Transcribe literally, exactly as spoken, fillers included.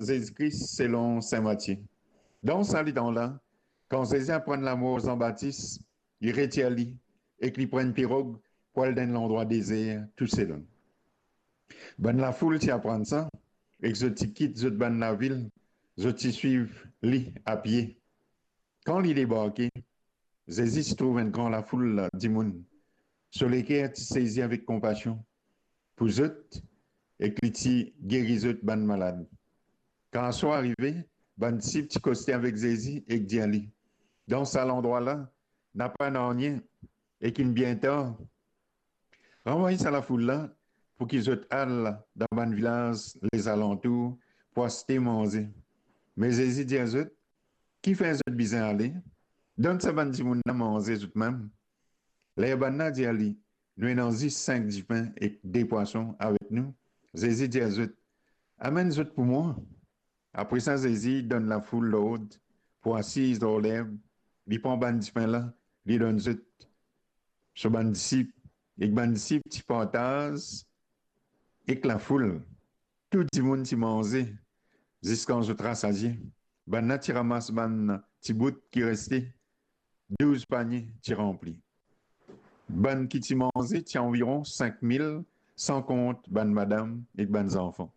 Zezi Kris selon Sin Matie. Dan sa letan la, kan Zezi aprann lamor Zan Batis, li retir li ek li pran enn pirog pou al dan enn landrwa dezer tousel. Bann lafoul ti aprann sa, ek zot ti kit zot bann lavil, zot ti swiv li apie. Kan li debarke, Zezi ti trouv enn gran lafoul dimoun. So leker ti sezi avek konpasion pou zot, ek li ti geri zot bann malad. Kan aswar arive, bann disip ti koste avek Zezi ek dir li, "Dan sa landrwa la, napa nanye, ek inn bien tar. Ranvway sa lafoul la pou ki zot al dan bann vilaz lezalantour pou aste manze." Me Zezi dir zot, "Kifer zot bizin ale? Donn sa bann dimoun la manze zotmem." Ler bann la dir li, "Nou ena zis sink dipin ek de pwason avek nou," Zezi dir zot, "Amenn zot pou mwa." Apre sa, Zezi donn lafoul lord pou asiz lor lerb, li pran bann dipin la, li donn zot so bann disip, ek bann disip ti partaz ek lafoul. Tou dimoun ti manze ziskan zot rasazie. Bann la ti ramas bann ti bout ki reste, douz panie ti ranpli. Bann ki ti manze ti anviron sink mil, san kont bann madam ek bann zanfan.